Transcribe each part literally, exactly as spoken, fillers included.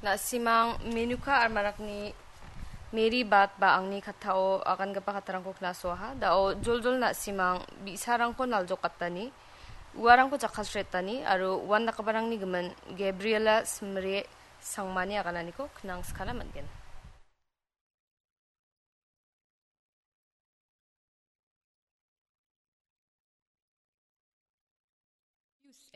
Na·simang Menuka Armarakni Mary Bat ba angni kattao agangipa kattarangko knasoaha. Da·o joljol na·simang bi·sarangko naljokatani, uarangko jakkalsretani aro uandakgiparangni gimin Gabriela Simre Sangmani agananiko knangskana man·gen.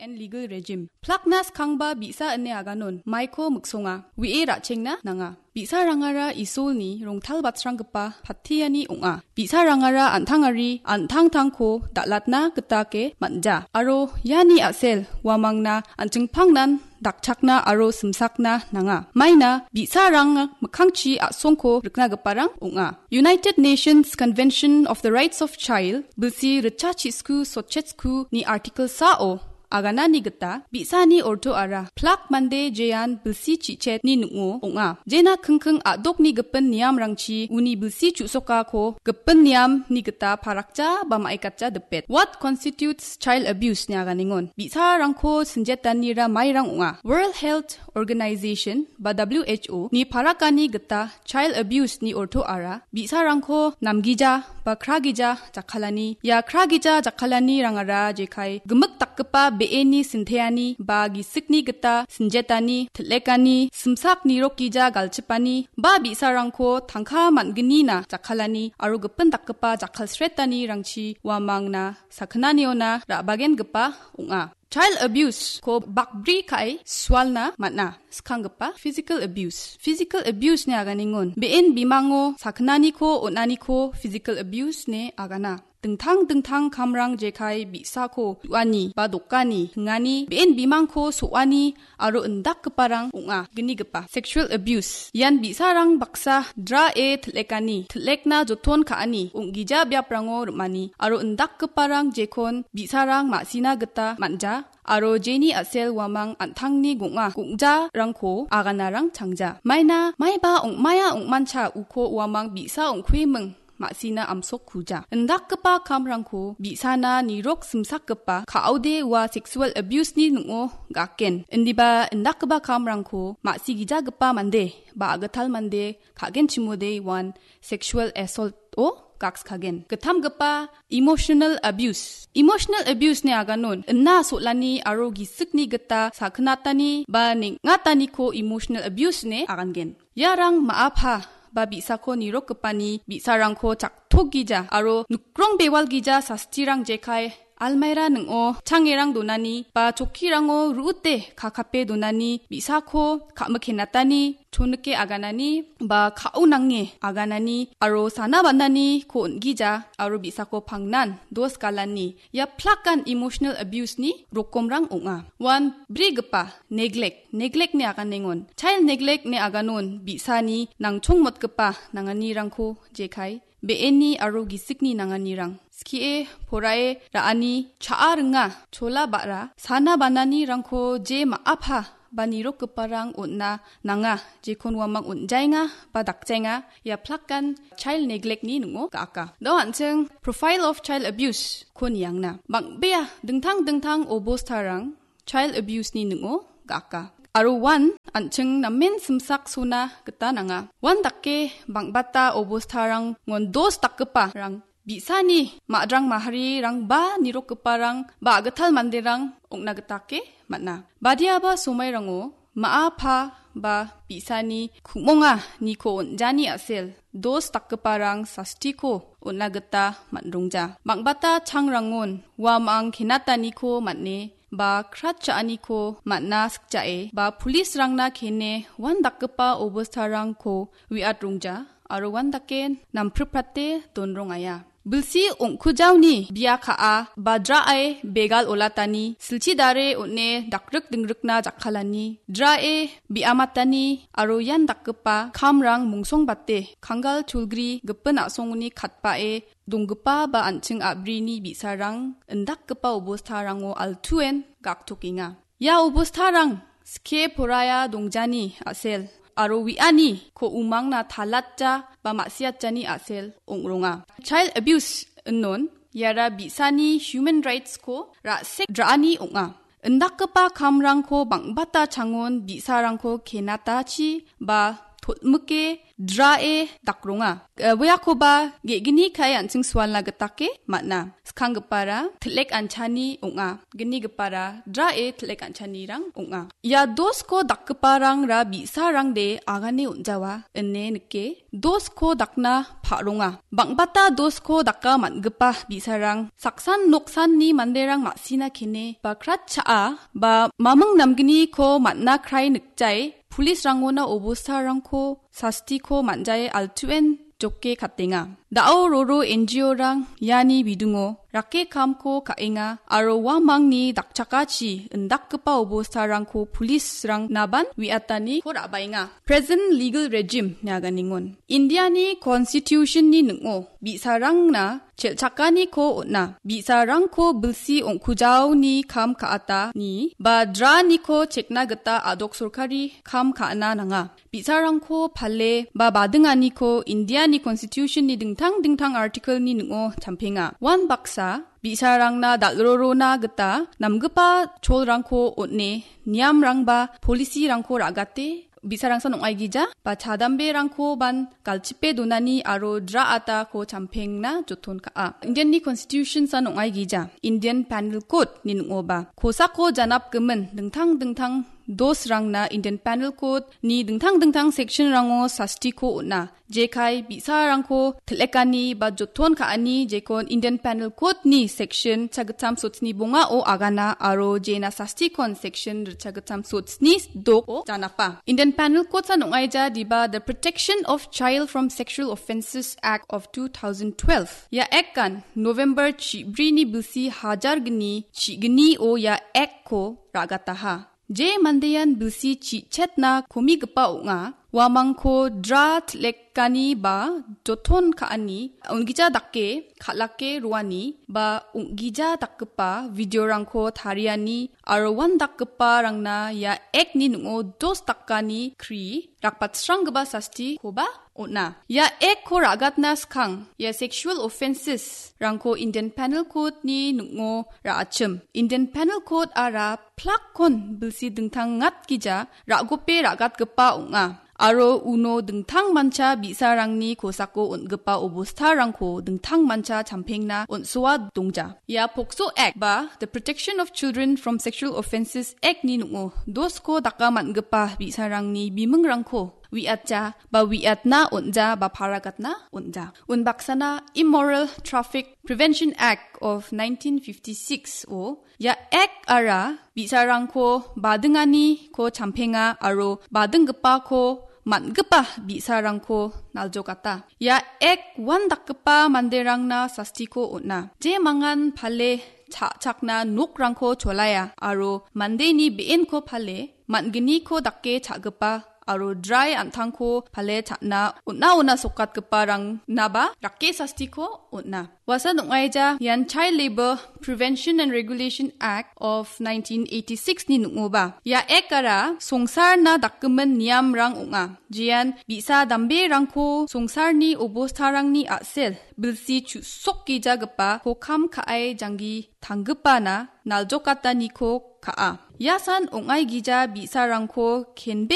And legal regime. Plakna skangba bi·sa ine aganon maiko miksonga, we·e ra·chengna nanga. Bi·sarangara Isolni rongtalbatsranggipa patiani ong·a. Bi·sarangara an·tangari an·tangtangko dal·atna gitake man·ja. Aro iani a·sel uamangna an·chingpangnan dakchakna aro simsakna nanga. Maina bi·sarang mikkangchi a·songko riknagiparang ong·a. United Nations Convention of the Rights of Child, bilsi ritchachisku sotchetsku ni Article sao aganani gita bi·sani ortoara plak mande jean bilsi chichetni ning·o ong·a. Jena kingking a·dokni gipin niamrangchi uni bilsi chu·sokako gipin niamni gita parakja ba maikatja dipet. What constitutes child abuse ine aganingon? Bi·sarangko sinjetanira mairang ong·a. World Health Organization ba W H O ni parakani gita child abuse ni ortoara bi·sarangko namgija ba kragija jakkalani. Ia kragija jakkalanirangara jekai gimik dakgipa be·eni sinteani ba gisikni gita sinjetani, til·ekani, simsak nirokgija galchipani ba bi·sarangko tangka man·gnina jakkalani aro gipin dakgipa jakkalsretanirangchi uamangna sakgnaniona ra·bagengipa ong·a. Child abuse-ko bakbri ka·e sualna man·a. Skanggipa physical abuse. Physical abuse-ni aganingon be·en bimango sakgnaniko on·aniko physical abuse ine agana. Dingtang dingtang kamrang jekai bi·sako uani ba dokani, hingani, be·en bimangko so·ani aro indakgiparang ong·a. Gnigipa sexual abuse. Ian bi·sarang baksa dra·e til·ekani, til·ekna joton ka·ani, ong·gija biaprango rim·ani aro indakgiparang jekon bi·sarang ma·sina gita man·ja. Aro jeni a·sel uamang an·tangni gong·a gongjarangko aganarang changja. Maina maiba ong·maia ong·mancha uko uamang bi·sa ong·kuiming ma·sina amsok kuja. Indakgipa kamrangko bi·sana nirok simsakgipa ka·ode ua sexual abuse-ni ning·o gaken. Indiba indakgipa kamrangko ma·sigijagipa mande ba a·gital mande ka·genchimode uan sexual assault-o gakskagen. Gittamgipa emotional abuse. Emotional abuse-ni aganon ina sol·ani aro gisikni gita sakgnatani ba neng·ataniko emotional abuse ine agangen. Iarang ma·a pa ba bi·sako nirokgipani bi·sarangko chaktokgija aro nikrong bewalgija sastirang jekai almaira ning·o changerang donani ba chokkirango ru·ute kakape donani bi·sako ka·mikenatani, chonike aganani ba ka·o nange aganani aro sana bananiko on·gija aro bi·sako pangnan dos galani. Ia plakan emotional abuse-ni rokomrang ong·a. Uan brigipa neglect, neglect-ni aganengon. Child neglect-ni aganon bi·sani nangchongmotgipa nanganirangko jekai be·eni aro gisikni nanganirang. Skie porae ra·ani cha·a ringa, chola ba·ra, sana bananirangko je ma·a pa ba nirokgiparang on·na nanga, jekon uamang on·jaenga ba dakjaenga, ia plakan child neglect-ni ning·o ga·aka. Do an·ching profile of child abuse-ko niangna. Bang·bea dingtang dingtang obostarang child abuse-ni ning·o ga·aka. Aro uan an·ching namen simsaksona gita nanga. Uan dake bang·bata obostarangon dos dakgiparang bi·sani ma·drang maharirang ba nirokgiparang ba a·gital manderang ong·na gitake man·a. Badiaba somairango ma·a pa ba bi·sani ku·monga niko on·jani a·sel dos dakgiparang sastiko on·na gita man·rongja. Bang·bata changrangon uamang kenataniko man·e ba krat cha·aniko man·na sikjae ba police-rangna kene uan dakgipa obostarangko we·atrongja aro uan dake nampriprate donrongaia. Bilsi ong·kujaoni bia ka·a ba dra·e begal olatani, silchi dare on·e dakrik dingrikna jakkalani, dra·e bi·amatani aro ian dakgipa kamrang mongsongbate kanggal cholgri gipin a·songoni katbae donggipa ba an·ching a·brini bi·sarang indakgipa obostarango altuen gaktokenga. Ia obostarang skie poraiya dongjani a·sel aro we·ani ko umangna talatja ba ma·siatjani a·sel ong·ronga. Child abuse inon iara bi·sani human rights-ko ra·sek ra·ani ong·a. indakgipa kamrangko bang·bata changon bi·sarangko kenatachi ba totmike drae dakronga. Eh, uiakoba ge·gni kae an·ching sualna gitake man·a. Skanggipara til·ek anchani ong·a. Gnigipara drae til·ek anchanirang ong·a. Ia dosko dakgiparangra bi·sarangde agane on·jawa ine nike dosko dakna pa·ronga. Bang·bata dosko daka man·gipa bi·sarang saksan noksanni manderang ma·sina kene ba kratcha·a ba maming namgniko man·na krai nikjae pulisrangona obostarangko sastiko man·jae altuen joke katenga. Da·o roro N G O-rang iani bidingo rake kamko ka·enga aro uamangni dakchakachi indakgipa obostarangko pulisrang naban uiataniko ra·baenga. Present legal regime ine aganengon. Indiani Constitution-ni ning·o bi·sarangna chel·chakaniko on·a. Bi·sarangko bilsi ong·kujaoni kam ka·atani ba draniko chekna gita a·dok sorkari kam ka·na nanga. Bi·sarangko pale ba badinganiko Indiani Constitution-ni dingtang dingtang article-ni ning·o champenga. Uan baksa bi·sarangna dal·rorona gita namgipa cholrangko on·e niamrang ba policy-rangko ra·gate bi·sarangsan ong·aigija ba chadamberangkoban galchipe donani aro dra atako champengna joton ka·a. Indian-ni Constitution-san ong·aigija Indian Penal Code-ni ning·oba kosako janapgimin dingtang dingtang dosrangna Indian Penal Code-ni dingtang dingtang section-rango sastiko on·a. Jekai bi·sarangko til·ekani ba joton ka·ani jekon Indian Penal Code-ni section chagittam sotsni bongao agana aro jena sastikon section ritchagittam sotsni doko janapa. Indian Penal Code-san ong·aija diba The Protection of Child from Sexual Offences Act of two thousand twelve. Ia Act-an November chibrini bilsi hajar gni chigni o ia Act-ko ra·gataha. Je mandean bilsi chi·chetna komigipa ong·a, uamangko dra til·ekani ba joton ka·ani, on·gija dake kal·ake roani ba on·gija dakgipa video-rangko tariani aro uandakgiparangna ia Act-ni ning·o dos dakani kri rakbatsranggipa sastikoba on·a. Ia Act-ko ra·gatna skang, ia sexual offences-rangko Indian Penal Code-ni ning·o ra·achim. Indian Penal Code-ara plakkon bilsi dingtang ngatgija ra·gope ra·gatgipa ong·a. Aro uno dingtang mancha bi·sarangni kosako on·gipa obostarangko dingtang mancha champengna on·soa dongja. Ia POCSO Act ba The Protection of Children from Sexual Offences Act-ni ning·o dosko daka man·gipa bi·sarangni bimingrangko uiatja ba uiatna on·ja ba paragatna on·ja. Unbaksana Immoral Traffic Prevention Act of nineteen fifty-six-o ia Act-ara bi·sarangko badinganiko champenga aro badinggipako man·gipa bi·sarangko naljokata. Ia Act uandakgipa manderangna sastiko on·a. Je mangan pale cha·chakna nokrangko cholaia aro mandeni be·enko pale man·gniko dake cha·gipa aro drai an·tangko pale cha·na on·a ona sokatgiparangnaba rake sastiko on·a. Uasan ong·aija ian Child Labour Prevention and Regulation Act of nineteen eighty-six-ni ning·oba. Ia Act-ara songsarna dakgimin niamrang ong·a. Jean bi·sa damberangko songsarni obostarangni a·sel bilsi chu·sokgijagipa kokam ka·ai janggi tanggipana naljokataniko ka·a. Iasan ong·aigija bi·sarangko kenbe